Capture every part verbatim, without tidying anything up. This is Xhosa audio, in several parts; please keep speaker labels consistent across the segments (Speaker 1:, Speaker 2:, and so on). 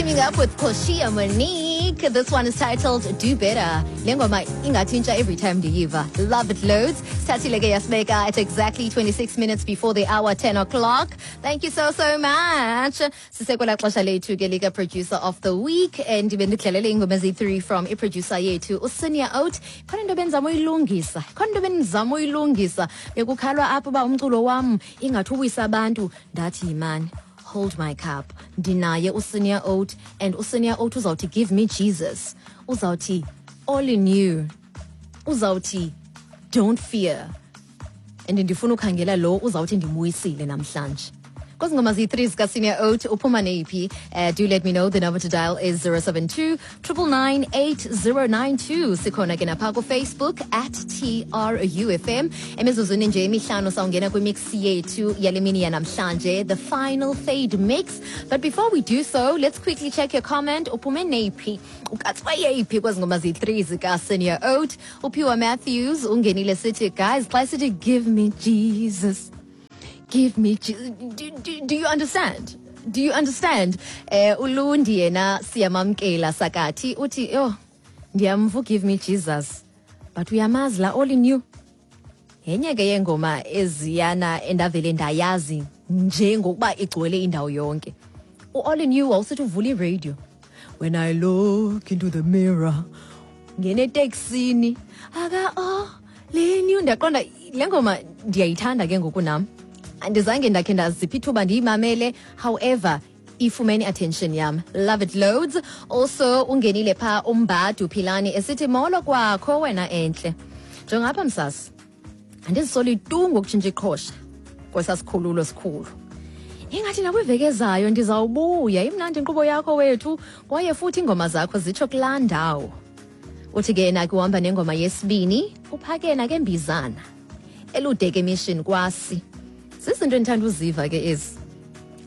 Speaker 1: Teaming up with Koshia Monique. This one is titled Do Better. Le ngoma ingathi intsha every time ndiyiva. Love it loads. Sithathile ke yasibeka at exactly twenty-six minutes before the hour ten o'clock. Thank you so, so much. Sisekwela xesha lethu ke lika producer of the week, and bendidlalele ingoma ezi-three from i-producer yethu uSenior Oat. Khona into benzama uyilungisa. Khona into benzama uyilungisa. Bekukhalwa apho uba umculo wam ingathi uwisa abantu. Ndathi yimani, hold my cup. Ndinaye uSenior Oat, and uSenior Oat uzawuthi "Give Me Jesus." Uzawuthi "All in You." Uzawuthi "Don't Fear." And ndifuna ukhangela lo uzawuthi ndimuyisile namhlanje. Kwezi ngoma ziyi-three zikaSenior Oat, uphuma neyiphi? Uh, do let me know. The number to dial is zero seven two nine nine nine eight zero nine two. Sikhona ke napha kuFacebook at T R U F M. Emizuzwini nje emihlanu sawungena kwimix yethu yale mini yanamhlanje, the final fade mix. But before we do so, let's quickly check your comment. Uphume neyiphi? Ukatswa yeyiphi kwezi ngoma ziyi-three zikaSenior Oat? Uphiwa Matthews ungenile sithi, guys, xa sithi "Give me Jesus. Give me Jesus." Do, do, do you understand? Do you understand? Eh ulundi yena siyamamkela sakathi uthi, "Yo, ndiyamva "Give Me Jesus." But uyamazi la "All in You"? Yenye ke yengoma eziyana endavele ndayazi njengokuba igcwele indawo yonke. U-All in You wawusithi uvula iradio. "When I look into the mirror." Ngene eteksini. Aka "All in You", ndiyaqonda le ngoma ndiyayithanda ke ngoku nam. Andizange ndakhe ndazipha ithuba ndiyimamele, however ifumene attention yam. Love it loads. Also ungenile pha umbadu Philani esithi, "Molo kwakho wena enhle. Njengapha msasi, andizisoli tu ngokutshintsha iqhosha kwesasikhululo sikhulu. Ingathi nakwiveki ezayo ndizawubuya. Imnandi inkqubo yakho wethu, kwaye futhi iingoma zakho zitsho kulaa ndawo." Uthi ke yena ke uhamba nengoma yesibini, uphake yena ke mbizana eludeke mission kwasi. Zizinto endithanda uziva ke ezi.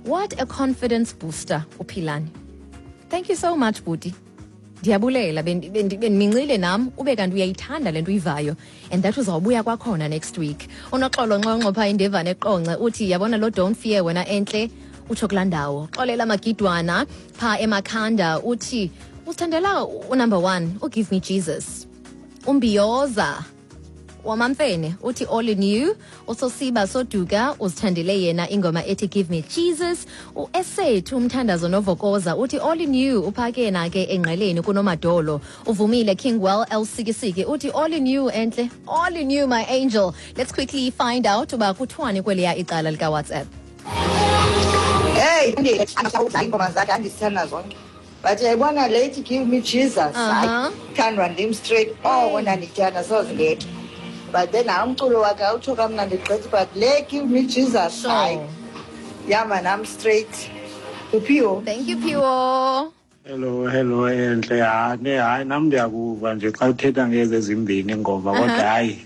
Speaker 1: What a confidence booster, uPhilani. Thank you so much, buti. Ndiyabulela, bendimincile nam ube kanti uyayithanda le nto uyivayo, and that uzawubuya kwakhona next week. Unoxolo Nxonxo phaa indevane eQonce uthi, "Yabona lo 'Don't Fear' wena enhle, utsho kulaa ndawo." Xolela Magidwana phaa eMakhanda uthi usithandela unumber one, uGive Me Jesus. Umbiyoza wamamfene uthi "All in You". Usosiba Soduka uzithandele yena ingoma ethi "Give Me Jesus". Uesethu umthandazo novokoza uthi "All in You", uphake yena ke engqeleni kunomadolo. Uvumile Kingwell Elsikisiki uthi "All in You enhle, all in you, my angel." Let's quickly find out uba kuthiwani kweliya icala likaWhatsApp.
Speaker 2: Hey, iingoma zakhe andizithanda zonke. But uyayibona le ithi "Give Me Jesus", hayi,
Speaker 1: Aha.
Speaker 2: thandwa ndim straight. Oko ndandiyithanda, soze ngekhe. But then hayi, umculo wakhe awutsho kamnandi gqithi, but le "Give Me Jesus",
Speaker 1: Sure.
Speaker 2: hayi, ihamba nam straight. Uphiwo.
Speaker 1: Thank you, Phiwo.
Speaker 3: Hello, hello enhle. Hayi, hayi, nam ndiyakuva nje xa uthetha ngezi ezimbini ingoma, kodwa hayi,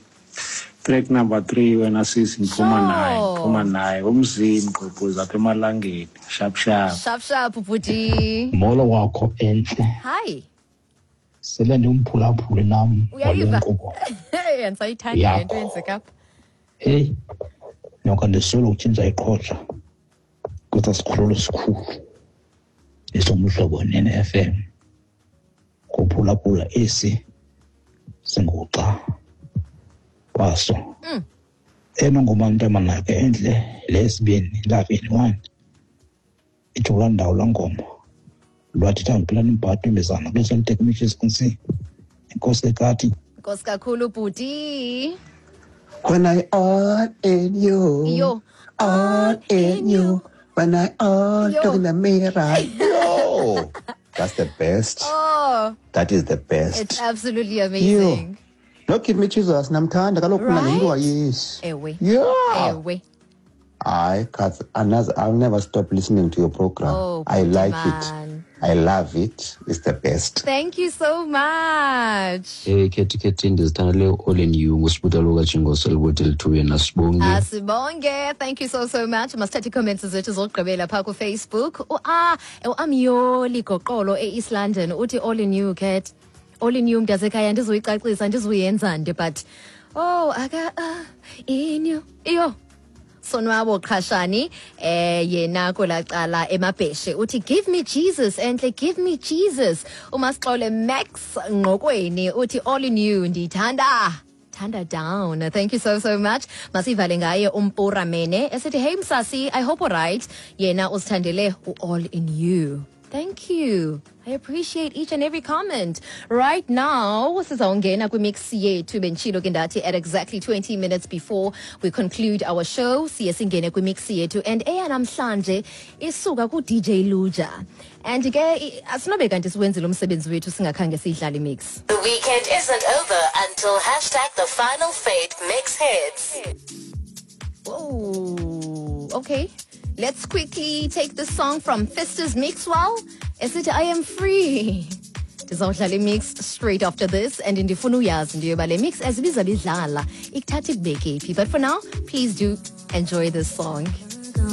Speaker 3: track number three wena sisi, ndiphuma
Speaker 1: Sure.
Speaker 3: naye, ndiphuma naye umzini gqobhoza apha emalangeni. Sharp sharp.
Speaker 1: Sharp sharp, bhuti.
Speaker 4: Molo wakho enhle.
Speaker 1: Hi.
Speaker 4: Sele ndiwumphulaphuli nam wale
Speaker 1: Uyayiva?
Speaker 4: nkqubo
Speaker 1: Hey, andisayithandi le nto
Speaker 4: yakho.
Speaker 1: yenzeka apha.
Speaker 4: Heyi, noko ndisole ukutshintsha iqhosha kwesa sikhululo sikhulu esoMhlobo Nene F M kuphulaphula esi singuxa waso.
Speaker 1: Mm.
Speaker 4: Enongoma ntombazana ke enhle, lesibini, "Love in One", itsho kulaa ndawo laa ngoma lwathetha nguphilani mbhadu imbizana kule. Enkosi kati.
Speaker 1: Nkosi kakhulu, bhuti.
Speaker 5: When I all in you,
Speaker 1: Yo.
Speaker 5: All in you. When I all
Speaker 1: Yo.
Speaker 5: look in the mirror.
Speaker 6: Yo, that's the best.
Speaker 1: Oh,
Speaker 6: That is the best.
Speaker 1: It's absolutely amazing.
Speaker 5: No "Give Me Jesus" namthanda kaloku mna ngumntu
Speaker 1: Right?
Speaker 5: waYesu.
Speaker 1: Ewe.
Speaker 5: Yeah.
Speaker 1: Ewe.
Speaker 6: I can't, I'll never stop listening to your program.
Speaker 1: Oh,
Speaker 6: I
Speaker 1: bhuti
Speaker 6: like
Speaker 1: man.
Speaker 6: it. I love it. It's the best.
Speaker 1: Thank you so much.
Speaker 7: Eh khethi khethi, ndizithandele "All in You", ngusibuta lokajingoso elibuthi lithuye nasibonge.
Speaker 1: Asibonge. Thank you so, so much. Masithathe comments zethu zokugqibela phaa kuFacebook. U-ah, uAmyoli Goqolo e-East London uthi "All in You, Cat. All in You, mntasekhaya, ndizuyicacisa, ndizuyenza nde, but oh aka ah, in you." Iyo. Sonwabo Qhashani eh yena kwelacala emabheshe uthi give me Jesus enhle, give me Jesus. Umasixole Max Ngqokweni uthi all in you, ndiyithanda thanda down. Thank you so so much. Masivale ngaye uMpura Mene esithi hey Msasi, I hope alright. Yena usithandele u-all in you. Thank you. I appreciate each and every comment. Right now, sizawungena kwimix yethu. Benditshilo ke ndathi at exactly twenty minutes before we conclude our show, siye singene kwimix yethu, and eyanamhlanje isuka ku-D J Luja. And ke i- asinobe kanti siwenzile umsebenzi wethu singakhange siyidlale imix.
Speaker 8: The weekend isn't over until hashtag the final fade mix hits.
Speaker 1: Oh, okay. Let's quickly take this song from Festus Mixwell. Esithi I am free. Ndizawudlala imix straight after this, and ndifuna uyazi into yoba le mix ezibiza bidlala ikuthatha ikubeke phi. But for now, please do enjoy this song.